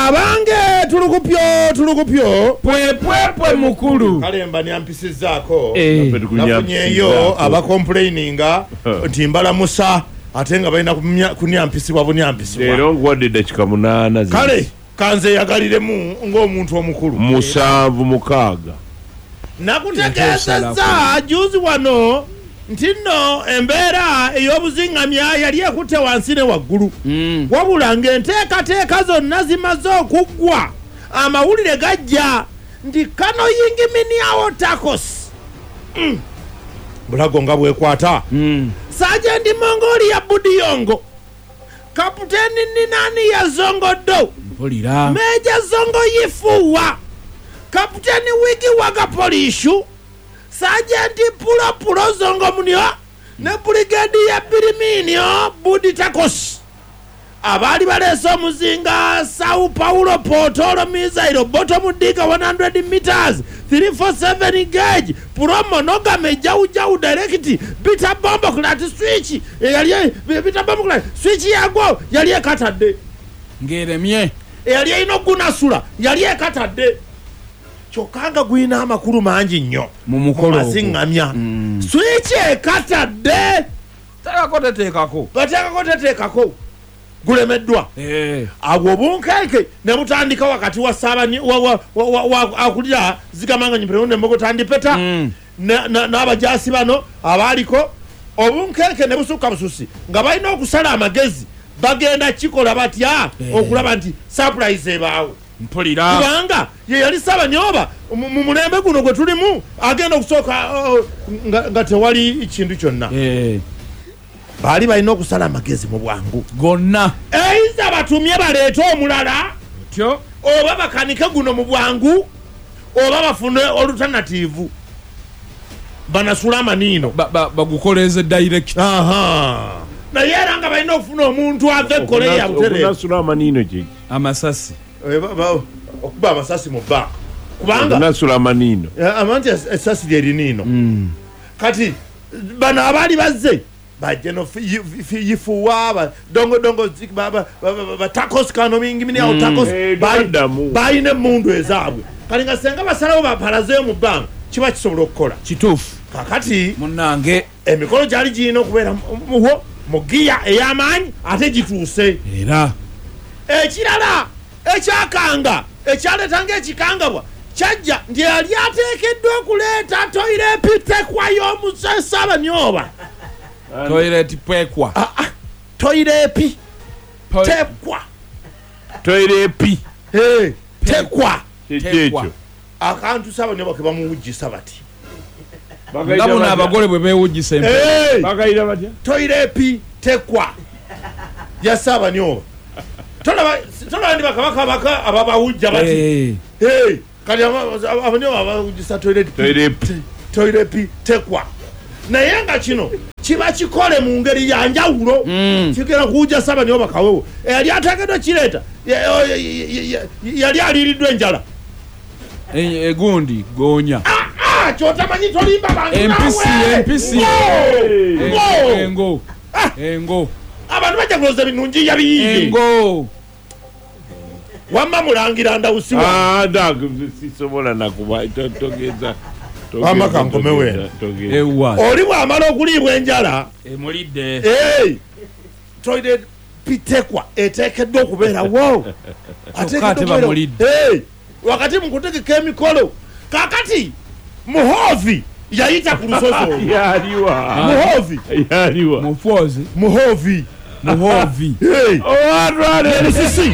Abange tulukupyo tulukupyo Pwepwepwe mukulu. Kale mba nyampisizaako. Eh. Nafunyeyo abacomplaininga nti mbalamusa ate nga balina kunyampisibwa bunyampisibwa. Leero nkuwadde eddakiika 8 zi. Kale kanze yagaliremu ng'omuntu omukulu. 7 6. Nakutegeezezza juzi wano nti nno embeera ey'obuzingamya yali ekutte wansi ne waggulu. Wabula ng'enteekateeka zonna zimaze okuggwa, amawulire gajja nti kano yingiminiawo takos. Bulago nga bwekwata. Sergeant Mongolia Budiyongo, Kaputeni Ninani ya Zongo Do, Mpulira. Meja Zongo Yifuwa, Kaputeni Wigi Waga Polishu, Sergeant Pulo Pulo Zongo Munio ne Brigadier Biriminio Budi Takos abaali baleese omuzinga Sao Paulo Portolo Missile Bottom Digger 100 meters 347 gauge Pro Monogamy Jau Jau Direct Bita Bombo Clat Switch eyali Bita Bombo Clat Switch yagwo yali ekatadde ng'eremye eyali erina ogunasula yali ekatadde kyokka nga gulina amakulu mangi nnyo mu mukolo ogwo. Maziŋŋamya switch ekatadde Teekako teteekako. Bateekako teteekako gulemeddwa. Awo obunkenke ne butandika wakati wa akulira zigamanga nyimperewo ne Mbogotandipeta n'abajaasi bano abaaliko obunkenke ne busukka bususi nga balina okusala amagezi bagenda kikola batya okulaba nti surprise ebaawo. Mpulira. Kubanga ye yali Ssaabanyooba mu mulembe guno gwe tulimu agenda okusooka nga tewali kintu kyonna. Baali balina okusala amagezi mu bwangu gonna. Eiza batumye baleete omulala oba bakanike guno mu bwangu oba bafune alternative banasula amaniino bagukoleze direct. Naye era nga balina okufuna omuntu ava e Korea butereevu. Okunasula amaniino kye ki? Amasasi. Okuba amasasi mu bbanga. Kubanga okunasula amaniino. Amanti essasi lye liniino. Kati bano abaali bazze bajje no yifuwa dongo dongo batakos kano mingi mini awo takos balina emmundu ezaabwe. Kati nga senga basalawo bapalazeeyo mu bbanga kiba kisobola okukola. Kituufu. Kakati munnange emikolo gyali girina okubeera muwo mu giya ey'amaanyi ate gituuse. Era ekirala ekyakanga ekyaleetanga ekikangabwa kyajja nti yali ateekeddwa okuleeta toilet tekwa y'omuze Ssaabanyooba. Toilet pwekwa. Toilet tekwa. Toilet tekwa. Ekyo. Akantu Ssaabanyooba ke bamuwujjisa bati. Nga buno abagole bwe beewujjisa empewo. Bagayira batya? Toilet tekwa ya Ssaabanyooba. Tolaba ndi bakabaka baka ababawujja bati. Kati abanyoba abawujjisa toilet tekwa. Naye nga kino kiba kikole mu ngeri ya njawulo. Kigenda kuwujja Ssaabanyooba kawewo. Eyali ateekeddwa kireeta yali aliiriddwa enjala. Egundi goonya. Kyotamanyi tolimba bantu nawe. Empisi. Engo. Engo. Abantu bajja kulowooza ebinungi yabiyiye. Engo. Wamma mulangira ndawusiwa. Sisobola nakuba togeza. Wamma kankomewo. Oli bw'amala okuliibwa enjala. Emulidde. Toilet pitekwa eteekeddwa okubeerawo. Ate bamulidde. Wakati mu kutegeka emikolo. Kaakati Muhoozi yayita ku lusozi olwo. Yaliwa. Muhoozi. Yaliwa. Muhoozi. Muhoozi. Muhoozi. Musisi.